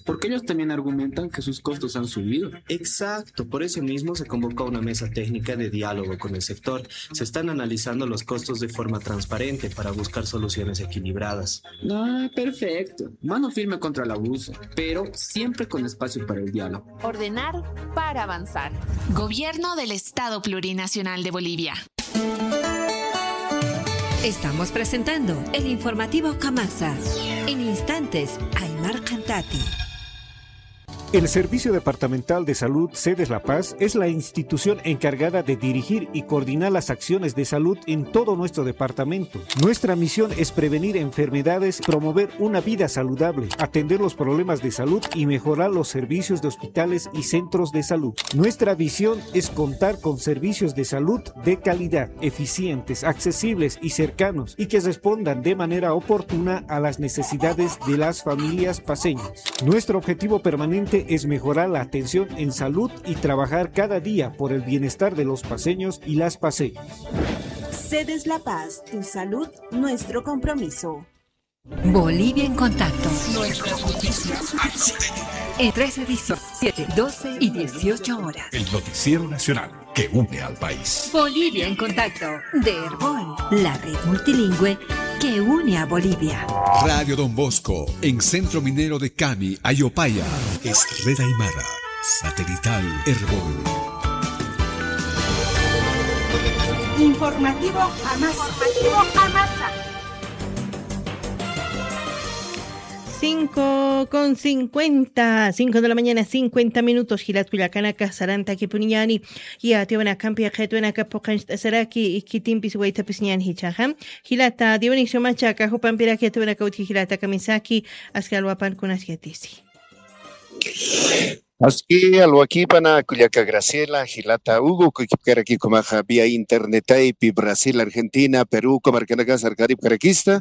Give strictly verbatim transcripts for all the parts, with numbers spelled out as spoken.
Porque ellos también argumentan que sus costos han subido. Exacto, por eso mismo se convocó una mesa técnica de diálogo con el sector. Se están analizando los costos de forma transparente para buscar soluciones equilibradas. Ah, perfecto. Mano firme contra el abuso, pero siempre con espacio para el diálogo. Ordenar para avanzar. Gobierno del Estado Plurinacional de Bolivia. Estamos presentando el informativo Kamasa. En instantes, Aymar Cantati. El Servicio Departamental de Salud Sedes La Paz es la institución encargada de dirigir y coordinar las acciones de salud en todo nuestro departamento. Nuestra misión es prevenir enfermedades, promover una vida saludable, atender los problemas de salud y mejorar los servicios de hospitales y centros de salud. Nuestra visión es contar con servicios de salud de calidad, eficientes, accesibles y cercanos, y que respondan de manera oportuna a las necesidades de las familias paceñas. Nuestro objetivo permanente es mejorar la atención en salud y trabajar cada día por el bienestar de los paceños y las paceñas. Sedes La Paz, tu salud, nuestro compromiso. Bolivia en contacto. Nuestras noticias. En tres ediciones, siete, doce y dieciocho horas. El noticiero nacional que une al país. Bolivia en contacto, de Erbol, la red multilingüe que une a Bolivia. Radio Don Bosco, en Centro Minero de Cami, Ayopaya. Es red aymara, satelital Erbol. Informativo Amasa. Informativo Amasa. Cinco con cincuenta, cinco de la mañana, cincuenta minutos. Jilat kullakanaka, sarantakipuniñäni. Yatiyawinakampi qhitwinaka phuqancht'asiraki, khitinpis waytapisiñäni jichhaxa. Jilata Dionisio Macha, aka jupampiraki yatiyawinaka utji jilata kamisaki, aski alwapankunas yatisi. Aski alwakipana kullaka Graciela, jilata Hugo, kukipkaraki ukhamaxa vía internetaypi Brasil, Argentina, Perú, uka markanakas sarkaripkarakista.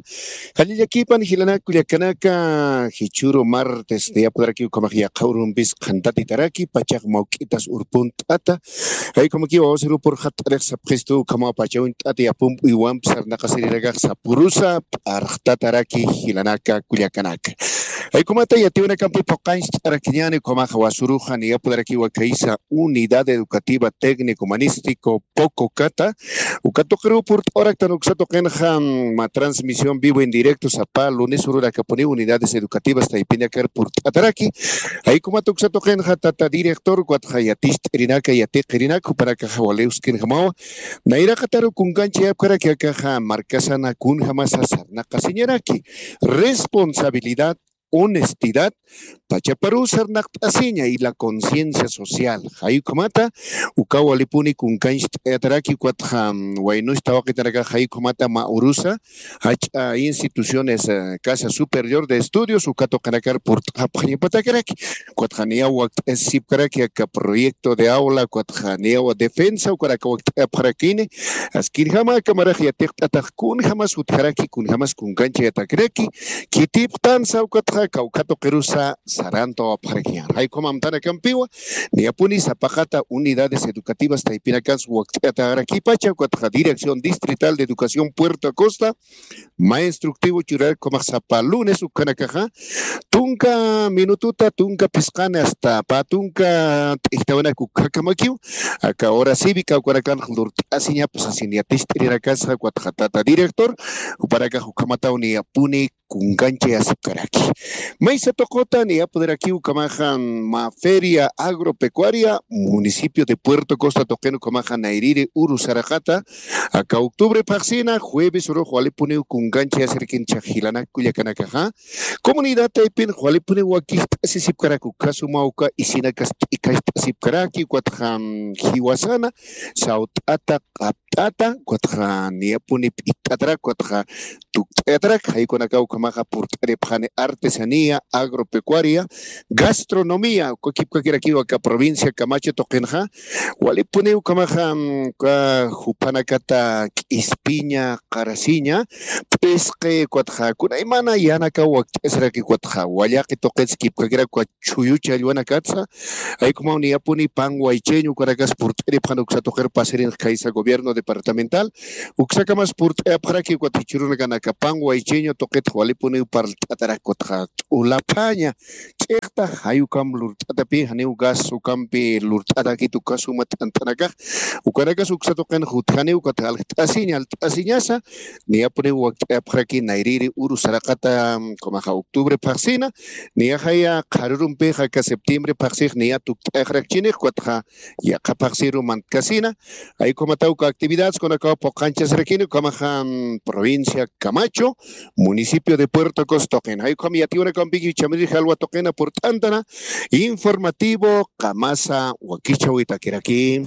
Jallillakipan jilanaka kullakanaka, jichhüru martes, niyapudaraki ukhamax yaqha urumpis qhantatitaraki, pachax mawk'itas urpunt'ata. Jaykhamakiw wawasir purxat'arix sapxistu, ukhamaw pacha uñt'ata yapump'uywamp sarnaqasirinakax sapürusa p'arxtataraki jilanaka kullakanaka. Jaykhumata yatiyawinakampi phuqancht'arakiñäni, ukhamaxa wasuruxa niyapudarakiwa khaysa Unidad Educativa Técnico Humanístico Pococata, uka tuqiruw purt'awaraktan uksa tuqinxa, mm, ma transmisión vivo en directo sapa lunes ururakapuniw unidades educativas taypinakar purt'ataraki. Jaykhumata uksa tuqinxa tata director, ukatxa yaticht'irinaka, yatiqirinaka, jupanakaxa waliw skinjamawa. Nayraqataru kunkanchayapkaraki akaxa markasana kunjamasa sarnaqasiñaraki. Responsabilidad, honestidad, pachaparuw sarnaqt'asiña y la conciencia social. Jaykhumata, ukaw walipuni kunkancht'ayataraki, ukatxa, mm, waynus tawaqitanakax jaykhumata ma urusa, jach'a instituciones, eh, Casa Superior de Estudios, uka tuqinakar purt'apxañapatakaraki. Ukatxa niyaw wakt'asipkaraki aka proyecto de aula, ukatxa niyaw defensa, ukaraka wakt'apxarakini. Askinjama aka marax yatiqt'atax kunjamas utjaraki, kunjamas kunkanchayatakaraki, khitipxtansa ukatxa kawkha tuqirusa sarantawapxarakiñan. Jaykhum amtanakampiwa, niyapuni sapaqata unidades educativas taypinakansa wakt'atarakipacha, ukatxa Dirección Distrital de Educación Puerto Acosta, ma instructivo churaraki ukhamax sapa lunes ukhanakaxa, tunka minututa, tunka phisqani hasta pä tunka t'ijtawinak ukkhakamakiw, aka hora cívica ukanakanx lurt'asiñapa sasin yaticht'irinakasa, ukatxa tata director, jupanakax ukhamataw niyapuni kunkanchayasipkaraki. Maysa tuquta niyapudarakiw ukhamaxa, ma feria agropecuaria municipio de Puerto Costa tuqin ukhamaxa nayrïri uru saraqata, aka octubre phaxsina jueves urux walipuniw kunkanchayasirakin jilanak kullakanakaxa. Comunidad taypinx walipuniw wakist'asisipkaraki, ukhasuma uka isinakas t'ikhast'asipkaraki, ukatxa, mm, jiwasana sawt'ata, q'apt'ata, ukatxa niyapuni p'itt'atarak, ukatxa tukt'ayatarak, jaykunakaw ukhamaxa purt'aripxani artesanía, agropecuaria, gastronomía, uka kipkakirakiw aka provincia Camacho tuqinxa, walipuniw ukhamaxa, mm, uka jupanakata k'ispiña, qarasiña, p'isqi, ukatxa kunaymana yanakaw wakt'asiraki, ukatxa wallaqi tuqits kipkakirak, uka chhuyu challwanakatsa, jaykumaw niyapuni pan waycheño ukanakas purt'aripxani uksa tuqir pasirinx khaysa gobierno de departamental, uksakamas purt'ayapxaraki ukat jichhürunakanakapan waychiñu tuqitx walipuniw parlt'atarak kutxa t'ulapaña ch'iqta jayukam lurt'atapi janiw gas ukampi lurt'atakit uka suma t'ant'anakax. Ukanakas uksa tuqin jutjaniw ukat aljt'asiña alt'asiñasa niyapuniw wakt'ayapxaraki nayriri uru saraqata kumaxa octubre phaxsina niyaxaya qharurumpixa aka septiembre phaxsix niya tukt'ayxarakchinix ukatxa yaqha phaxsiru mantkasina. Ay ukhamatawka actividades kunakaw puqanchasirakini ukhamaxa provincia Camacho, municipio de Puerto Costoqin. Ay ukham yatiwanakampikiw chamirir jalwa tuqina purt'antana informativo qamasa wakichawitakiraki.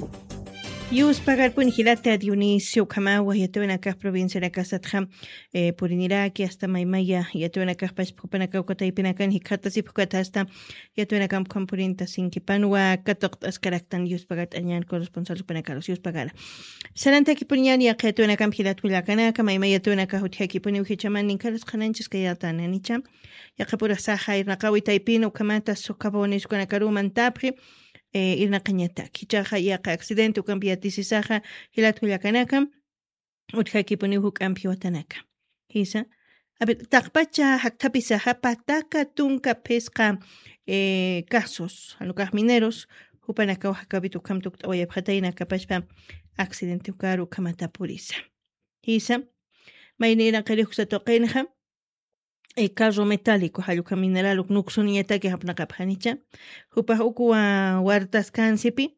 Yuspagarpun jilata Dionisio ukhamawa yatiwanakax provincianakasatxa puriniraki asta maymaya yatiwanakaxpach phupanakawka taypinakan jikxatasipxukata asta yatwinakam ukhampurïnta sinkipanwa katuqt'askaraktan yuspagat'añan corresponsal jupanakarus yuspagara. Sarantakipuniñan yaqha yatwinakam jilat kullakanaka mayma yatwinakax utjakipuniw jichaman ninkaras qhananchis kayatan anicha. Yaqhapurasaxa irnaqawi taypina ukhamata sukapawaniskunakaruw mantapxi irnaqañatak jichaxa yaqha accidente ukampi yatisisaxa jilat kullakanakam utjakipuniw juk'ampi watanaka. Jisa. A ver, taqpacha jakthapisaxa pataka tunka phisqa casos janukax mineros jupanakaw jakawit ukham tukt'awayapxatayna kapachpa accidente ukaru ukhamata purisa. Jisa. Mayniraqirix uksa tuqinxa carro metálico jallukha mineral uk nuksuniñataki japnaqapxanicha. Jupax ukwa wartaskansipi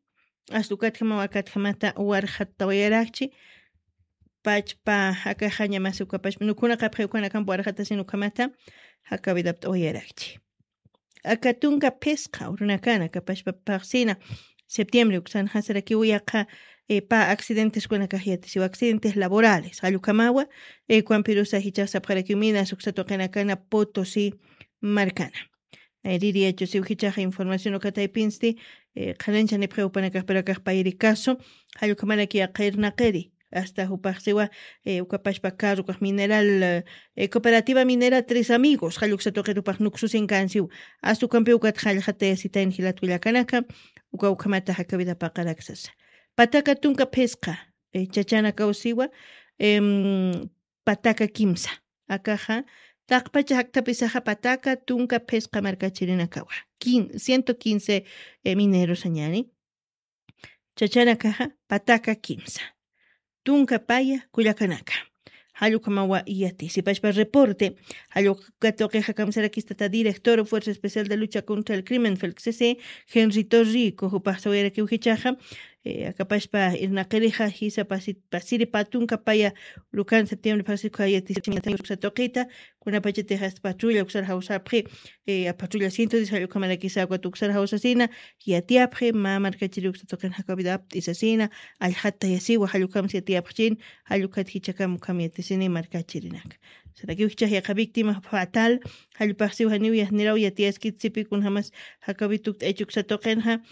asta ukatjamaw akatjamata warxattawayarakchi. Pachpa akaxañamasi ukapachpa nukhunaqapxi ukanakampa warxatasin ukhamata jakawidapt'awayarakchi. Aka tunka phisqa urunakana kapachpa phaxsina septiembre uksanxasarakiw yaqha pä accidenteskunakax yatisiw accidentes laborales jallukhamawa. Kuampirusa jichax sapxarakiw minas uksa tuqinakana potosi markana. Nayririyachusiw jichaxa información ukataypinsti qhanancha nipxiw jupanakax pero akax payri caso jallukhamaraki yaqha irnaqiri asta jupaxsiwa ukapashpa carro ukax mineral cooperativa minera tres amigos jalluksa tuqir upax nuksusinkansiw asta ukampiw ukat jallxatayasitayn jilat kullakanaka. Uka ukhamata jakawida paqaraksasa pataka tunka phisqa chachanakawsiwa pataka kimsa akaxa taqpacha jakthapisaxa pataka tunka phisqa markachirinakawa ciento quince minerosañani. Chachanakaxa pataka kimsa tunka paya kullakanaka. Jallukamawa iyati sipashpa reporte jallukatuqixa kamsarakistata director fuerza especial de lucha contra el crimen felxisi henrito rico jupaxsawayarakiw jichaxa akapashpa irnaqirixa jisa pasiri pä tunka paya lukan septiembre phaxsikha yatisañatayuksatuqita kunapachatix asta patrulla uksar jawsapxi. Apatrulla ciento diez jallukamarakisa ukat uksar jawsasina yatiyapxi mä markachiri uksatuqin jakawida apt'isasina allxattayasiwa jallukamsi yatiyapxchin. Jallukat jichakam ukham yatisini markachirinak sarakiw jichax yaqha víctima fatal jallupaxsiw janiw yajniraw yatiyaskit sipi kunjamas jakawi tukt'aychi uksatuqinxa.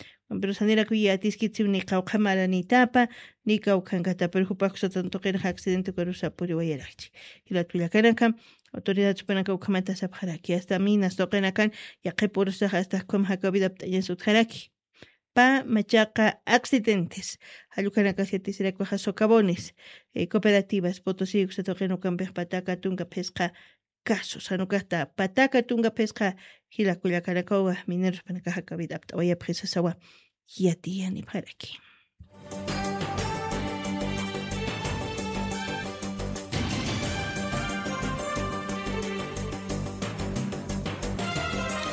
Pero sanirakuy yatiskit siw ni qawqha maranitapa ni kawkhankata pero jupax uksatan tuqinxa accidente ukarusa puriwayarakchi. Jilat kullakanaka autoridad supanaka ukhamata sapxaraki asta minas tuqinakan yaqhip urusaxa asta ukham jakawida apt'añas utjaraki. Pä machaqa accidentes jallukanakas yatisirakuxa socabones cooperativas potosí uksatuqin ukampix pataka tunka phisqa casos janukasta pataka tunka phisqa jila kullakanakawa minerospanakaxa kawid apt'awayapxisasawa. Yatiyanipxaraki.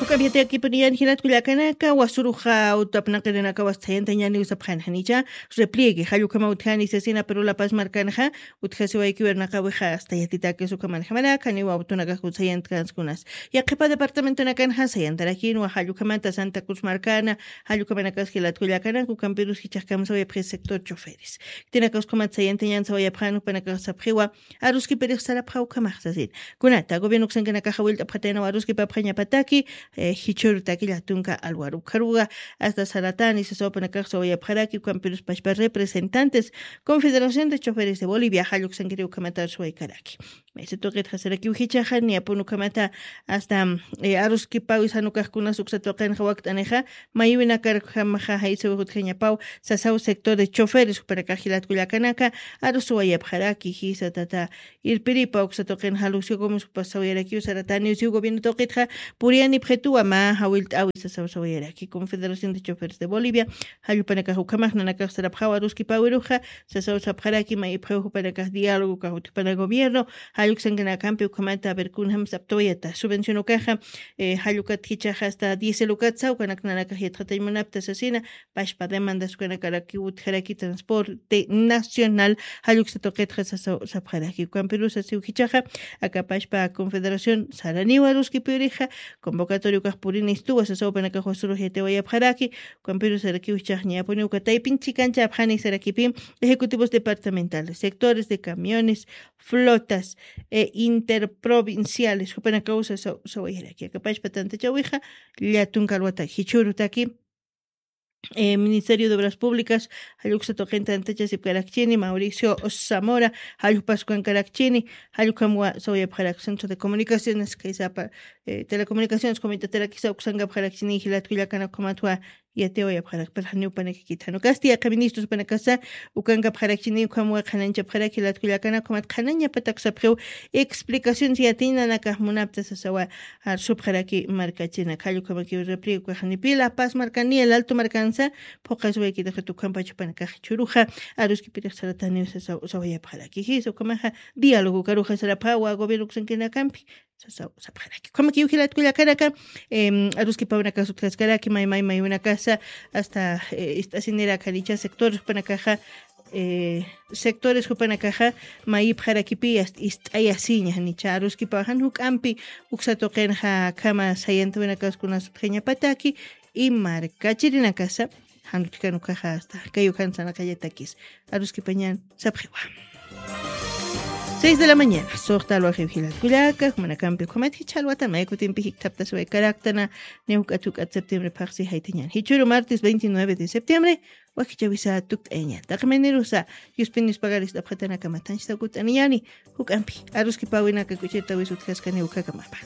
Juk'ampi yatiyakipuniyan jilat kullakanaka wasuruxa utapnaqirinakawas thayantañaniw sapxanxanicha repliegue jallukhama utjani sasina pero lapas markanxa utjasiwaykiwirnaqawixa asta yatitakis ukhamanjamanak janiw awtunakax utsayantkans kunas. Yaqhipa departamentonakanxa sayantarakinwa jallukhamata santa cruz markana jallukhamanakas jilat kullakanaka ukampirus jichaxkamsawayapxi sector choferes. Tinakaws ukhamat sayantañan sawayapxan jupanakax sapxiwa aruskipirix sarapxa ukhamax sasin. Kunata gobierno uksankanakaxa willt'apxataynaw aruskipapxañapataki eh, jichhürutaki llatunka alwaru. Ukharuxa hasta saratani sasaw jupanakax sawayapxaraki, ukampirus pachpa representantes Confederación de Choferes de Bolivia jalluksankiri ukhamata suwaykaraki. Maysa tuqitxa sarakiw jichhaxa, niyapun ukhamata hasta, eh, aruskipawi sanukaxkunas uksa tuqinxa wakt'anixa, maywinakarjamaxa jaysawi jutjañapaw sasaw sector de choferes jupanakax jilat kullakanaka, arus suwayapxaraki, jisa tata irpiripa uksa tuqin jalusiw kumus jupas sawayarakiw sarataniw siw gobierno tuqitxa, puriyanipxituwa mä jawillt'awi sasaw sawayaraki. Confederación de Choferes de Bolivia, jall jupanakax ukhamax nanakax sarapxawa aruskipawiruxa, sasaw sapxaraki, mayipxiw jupanakax diálogo kax utjapana gobierno, jalluksankanakampi ukhamata, a ver, kunjam saptawayata. Subvención ukaxa, eh, jallukat jichhaxa hasta diésel ukat saw, ukanak nanakax yatxatañ munapta sasina, pachpa demandas ukanakaraki utjaraki transporte nacional, jalluksa tuqitxa sasaw sapxaraki. Ukampirusa siw jichhaxa, aka pachpa confederación saraniwa aruskipirixa, convocatorio ukax purini istuwa sasaw jupanakax wasurux yatiwayapxaraki, ukampirusa sarakiw jichhax niyapuni uka taypin chikanchapxani sarakipi, ejecutivos departamentales, sectores de camiones, flotas, eh, interprovinciales, jupanakaw sasaw sawayaraki. Aka pachpa tantachawixa, llatunka alwataki, jichhürutaki, eh, Ministerio de Obras Públicas, jalluksa tuqin tantachasipkarakchini, Mauricio Zamora, jallukpas ukankarakchini, jallukhamwa sawayapxarak Centro de Comunicaciones, kaysapa, eh, Telecomunicaciones Comunitaterakisa uksankapxarakchini, jilat kullakanakhamatwa yatiwayapxarak, pero janiw panakakit. Jan ukasti yaqha ministros panakasa ukankapxarakchini, ukhamwa qhanañchapxarak jilat kullakanakhamat qhanañapatak sapxiw explicaciones yatiñ nanakax munapta sasawa, arsupxaraki markachinak. Jall ukhamakiw repliego kaxanipi La Paz markani, El Alto markansa, phuqaswaykitix ukampach jupanakax jichhüruxa, aruskipirix sarataniw sasaw sawayapxaraki. Jisa ukhamaxa diálogo ukaruxa sarapxawa gobierno uksankanakampi, sasaw sapxaraki. Ukhamakiw jilat kullakanaka, em, aruskipawinak utjaskaraki, may, may, maywinakasa, hasta, eh, ist'asinirak janicha sectores jupanakaxa, eh, sectores jupanakaxa, mayipxarakipi, hasta ist'ayasiña, janicha aruskipaw jan juk'ampi, uksa tuqinxa akhama sayantawinakas kunas utjañapataki, y markachirinakasa, jan utjkan ukaxa hasta, kay ukan sanaqallatakis, aruskipañan sapxiwa. Seis de la mañana, suxta alwaxiw jilat kullaka, jumanakampi ukhamat jichha alwatan, may kutimpi jikthapta suwaykaraktana, niya juk'at juk'at septiembre phaxsi jaytañan. Jichhüru martes veintinueve de septiembre, wakichäwisa tukt'ayañan. Taqi maynirusa, yuspinis pagaris t'apxatanakamat janchita kut'aniñani, juk'ampi, aruskipawinaka kuchirtawis utjaskani ukhakamapa.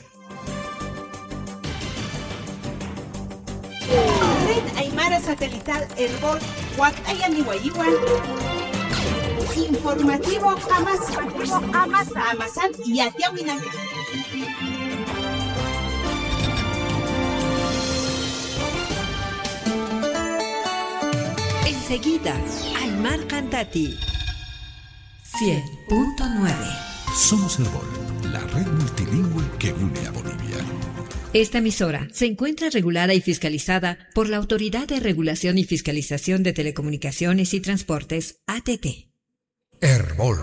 Red Aymara Satelital Erbol wakt'ayaniwayiwa. Informativo Amasa. Amasa. Amasan yatiyawinak. Enseguida, Aymar Cantati. Cien punto nueve. Somos Erbol, la red multilingüe que une a Bolivia. Esta emisora se encuentra regulada y fiscalizada por la Autoridad de Regulación y Fiscalización de Telecomunicaciones y Transportes, A T T. Erbol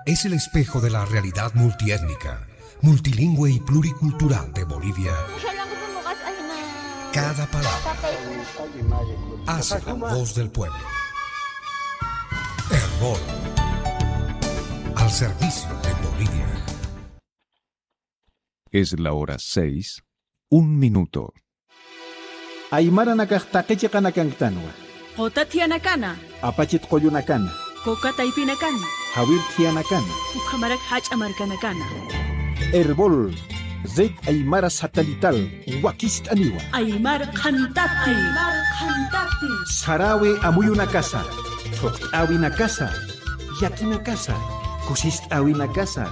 es el espejo de la realidad multiétnica, multilingüe y pluricultural de Bolivia. Cada palabra hace la voz del pueblo. Erbol, al servicio de Bolivia. Es la hora seis, un minuto. Aymaranakax taqi chiqanakanktanwa. Quta thiyanakana. Apachit qullunakana. Kuka taypinakana. Jawir thiyanakana. Ukhamarak jach'a markanakana. Erbol, Red Aymara Satelital, wakicht'aniwa. Aymar Qhantati. Aymar Qhantati. Sarawi amuyunakasa, thuqt'äwinakasa, llakinakasa, kusist'äwinakasa,